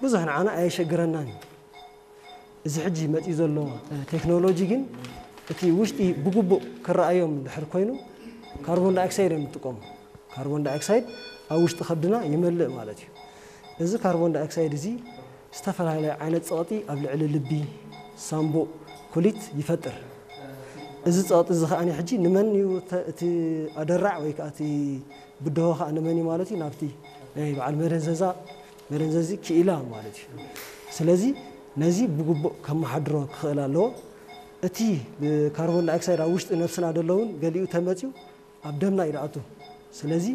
ብዙሕ ንዓና ኣየሸግረናን እዩ። እዚ ሕጂ መፂኡ ዘሎ ቴክኖሎጂ ግን እቲ ውሽጢ ብግቡእ ክረኣዮም ድሕር ኮይኑ ካርቦን ዳይኦክሳይድ እዮም ዝጥቀሙ። ካርቦን ዳይኦክሳይድ ኣብ ውሽጢ ከብድና ይመልእ ማለት እዩ። እዚ ካርቦን ዳይኦክሳይድ እዚ ዝተፈላለየ ዓይነት ፀቕጢ ኣብ ልዕሊ ልቢ፣ ሳምቡእ፣ ኩሊት ይፈጥር። እዚ ፀቕጢ እዚ ከኣ ሕጂ ንመን እዩ እቲ ኣደራዕ ወይ ከዓ እቲ ብድሆ ከዓ ንመን እዩ ማለት እዩ? ናብቲ ናይ በዓል መደንዘዛ መደንዘዚ ክኢላ ማለት እዩ። ስለዚ ነዚ ብግቡእ ከመሓድሮ ክኽእል ኣለዎ። እቲ ካርቦን ዳይኦክሳይድ ኣብ ውሽጢ ነብስና ደሎ እውን ገሊኡ ተመፅዩ ኣብ ደምና እዩ ዝኣቱ። ስለዚ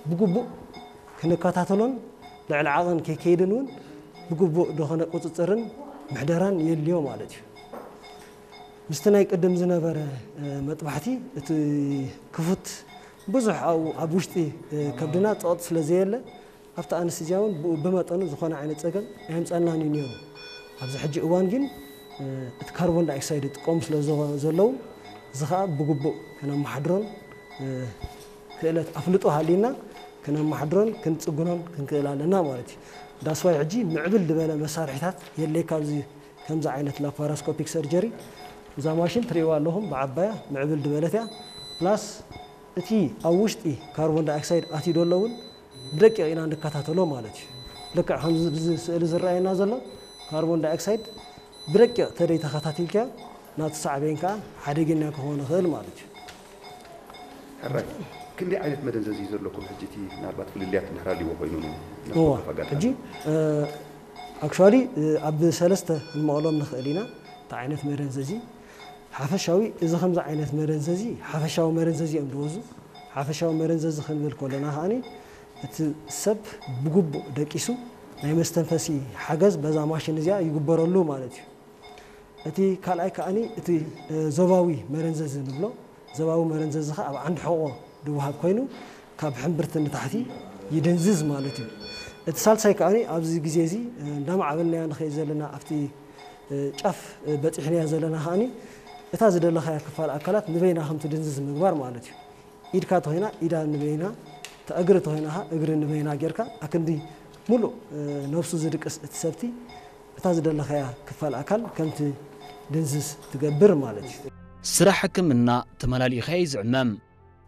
ብግቡእ ክንከታተሎን ልዕሊ ዓቐን ከይከይድን እውን ብግቡእ ዝኾነ ቁፅፅርን ምሕደራን የድልዮ ማለት እዩ። ምስቲ ናይ ቅድም ዝነበረ መጥባሕቲ እቲ ክፉት ብዙሕ ኣብኡ ኣብ ውሽጢ ከብድና ፀቕጢ ስለ ዘየለ ኣብቲ ኣንስቲ እዚኣ እውን ብኡ ብመጠኑ ዝኾነ ዓይነት ፀገም ኣየምፀናን እዩ ነይሩ። ኣብዚ ሕጂ እዋን ግን እቲ ካርቦን ዳይኦክሳይድ ይጥቀሙ ስለ ዘለዉ እዚ ከዓ ብግቡእ ክነመሓድሮን ክእለት ኣፍልጦ ሃልዩና ክነመሓድሮን ክንፅግኖን ክንክእል ኣለና ማለት እዩ። ዳስዋይ ሕጂ ምዕብል ዝበለ መሳርሒታት የድልየካ ኣብዚ ከምዚ ዓይነት ላፓራስኮፒክ ሰርጀሪ እዛ ማሽን ትርእይዋ ኣለኹም ብዓባያ ምዕብል ዝበለት እያ። ፕላስ እቲ ኣብ ውሽጢ ካርቦን ዳይኦክሳይድ ኣትዩ ዶ ኣሎ እውን ብደቂቕ ኢና ንከታተሎ ማለት እዩ። ልክዕ ከምዚ ብዚ ስእሊ ዝረኣየና ዘሎ ካርቦን ዳይኦክሳይድ ብደቂቕ ተደይ ተኸታቲልካ ናቱ ሳዕቤን ከዓ ሓደገኛ ክኸውን ይኽእል ማለት እዩ። ሕራይ ክንደይ ዓይነት መደንዘዚ እዩ ዘለኩም ሕጂ እቲ ምናልባት ፍልልያት እንድሕር ኣልዎ ኮይኑ እዋ ሕጂ ኣክቹዋሊ ኣብ ሰለስተ ክንመቐሎም ንኽእል ኢና። እቲ ዓይነት መደንዘዚ ሓፈሻዊ እዚ ከምዚ ዓይነት መደንዘዚ ሓፈሻዊ መደንዘዚ እዮም ዝወዙ። ሓፈሻዊ መደንዘዚ ክንብል ከለና ከዓኒ እቲ ሰብ ብግቡእ ደቂሱ ናይ መስተንፈሲ ሓገዝ በዛ ማሽን እዚኣ ይግበረሉ ማለት እዩ። እቲ ካልኣይ ከዓኒ እቲ ዞባዊ መደንዘዚ ንብሎ ዞባዊ መደንዘዚ ከዓ ኣብ ዓንዲ ሕቖ ዝወሃብ ኮይኑ ካብ ሕምብርቲ ንታሕቲ ይድንዝዝ ማለት እዩ። እቲ ሳልሳይ ከዓኒ ኣብዚ ግዜ እዚ እንዳማዕበልናዮ ንኸይድ ዘለና ኣብቲ ጫፍ በፂሕናዮ ዘለና ከዓኒ እታ ዝደለኻያ ክፋል ኣካላት ንበይና ከም ትድንዝዝ ምግባር ማለት እዩ። ኢድካ ተኾይና ኢዳ ንበይና፣ እታ እግሪ ተኾይና ኸዓ እግሪ ንበይና ጌርካ ኣክንዲ ሙሉእ ነብሱ ዝድቅስ እቲ ሰብቲ እታ ዝደለኻያ ክፋል ኣካል ከምቲ ድንዝዝ ትገብር ማለት እዩ። ስራሕ ሕክምና ተመላሊእኻዮ እዩ ዝዕመም።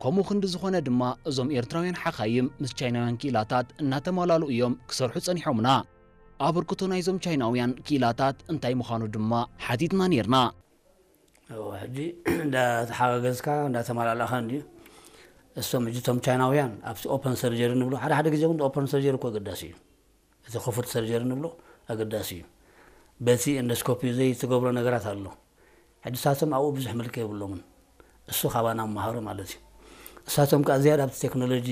ከምኡ ክንዲ ዝኾነ ድማ እዞም ኤርትራውያን ሓኻይም ምስ ቻይናውያን ክኢላታት እናተማላሉ እዮም ክሰርሑ ጸኒሖምና። ኣበርክቶ ናይዞም ቻይናውያን ክኢላታት እንታይ ምዃኑ ድማ ሓቲትና ኔርና። ሕጂ እንዳተሓጋገዝካ እንዳተማላላእካ እንድዩ። እሶም ሕጂ እቶም ቻይናውያን ኣብቲ ኦፐን ሰርጀሪ ንብሎ ሓደ ሓደ ግዜ እውን ኦፐን ሰርጀሪ እኮ ኣገዳሲ እዩ። እቲ ክፉት ሰርጀሪ ንብሎ ኣገዳሲ እዩ። በቲ ኢንዶስኮፒ ዘይትገብሮ ነገራት ኣሎ። ሕጂ እሳቶም ኣብኡ ብዙሕ ምልኪ የብሎምን። እሱ ካባና መሃሩ ማለት እዩ። እሳቶም ከዓ ዝያዳ ኣብቲ ቴክኖሎጂ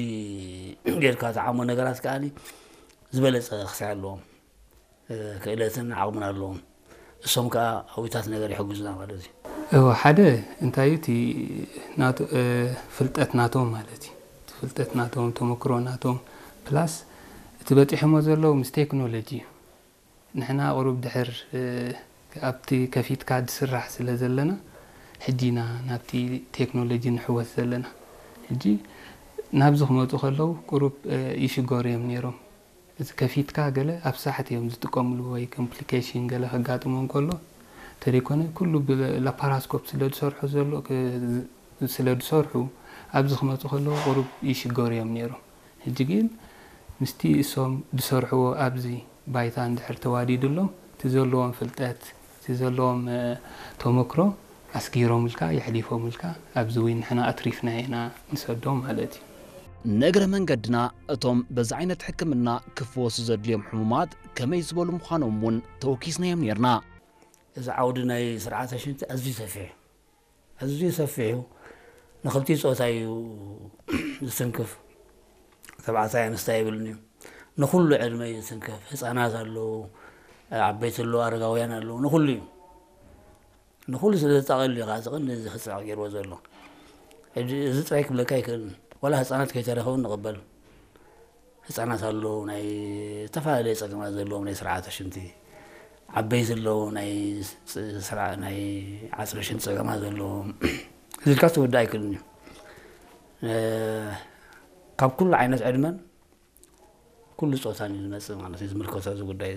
ጌርካ ዝዓሞ ነገራት ከዓ ዝበለፀ ክሳይ ኣለዎም። ክእለትን ዓቕምን ኣለዎም። እሶም ከዓ ኣብታት ነገር ይሕግዙና ማለት እዩ። እወ ሓደ እንታይ እዩ እቲ ፍልጠት ናቶም ማለት እዩ። እቲ ፍልጠት ናቶም ተመክሮ ናቶም ፕላስ እቲ በፂሖሞ ዘለዉ ምስ ቴክኖሎጂ እዩ። ንሕና ቁሩብ ድሕር ኣብቲ ከፊትካ ዝስራሕ ስለ ዘለና ሕጂ ኢና ናብቲ ቴክኖሎጂ ንሕወስ ዘለና። ሕጂ ናብዚ ክመፁ ከለዉ ቁሩብ ይሽገሩ እዮም ነይሮም። እዚ ከፊትካ ገለ ኣብ ሳሕት እዮም ዝጥቀምሉ ወይ ኮምፕሊኬሽን ገለ ከጋጥሞም ከሎ ተደይኮነ ኩሉ ብላፓራስኮፕ ስለ ዝሰርሑ ዘሎ ስለ ዝሰርሑ ኣብዚ ክመፁ ከለዉ ቁሩብ ይሽገሩ እዮም ነይሮም። ሕጂ ግን ምስቲ እሶም ዝሰርሕዎ ኣብዚ ባይታ እንድሕር ተዋዲዱሎም እቲ ዘለዎም ፍልጠት እቲ ዘለዎም ተመክሮ ኣስጊሮምልካ የሕሊፎምልካ ኣብዚ እውን ንሕና ኣትሪፍና ኢና ንሰዶም ማለት እዩ። ንእግረ መንገድና እቶም በዚ ዓይነት ሕክምና ክፍወሱ ዘድልዮም ሕሙማት ከመይ ዝበሉ ምዃኖም እውን ተወኪስናዮም ነይርና። እዚ ዓውዲ ናይ ስርዓተ ሽንቲ ኣዝዩ ሰፊሕ እዩ። ኣዝዩ ሰፊሕ እዩ። ንኽልቲኡ ፆታ እዩ ዝትንክፍ። ተባዕታይ ኣንስታይ ኣይብልን እዩ። ንኹሉ ዕድመ እዩ ዝትንክፍ። ህፃናት ኣለዉ፣ ዓበይቲ ኣለዉ፣ ኣረጋውያን ኣለዉ፣ ንኹሉ እዩ። ንኹሉ ስለ ዘጠቓልል እዩ ከዓ እዚ ቀንዲ እዚ ክፅዕቕ ገይርዎ ዘሎ። ሕጂ እዚ ጥራይ ክብለካ ኣይክእልን። ዋላ ህፃናት ከይተረኸቡ ንቕበል። ህፃናት ኣለዉ ናይ ዝተፈላለየ ፀገማት ዘለዎም ናይ ስርዓተ ሽንቲ፣ ዓበይቲ ኣለዉ ናይ ስራ ናይ ዓፅሚ ሽንቲ ፀገማት ዘለዎም እዚ ኢልካ ክትውዳእ ኣይክእልን እዩ። ካብ ኩሉ ዓይነት ዕድመን ኩሉ ፆታን እዩ ዝመፅእ ማለት እዩ ዝምልከቶ እዚ ጉዳይ እዚ።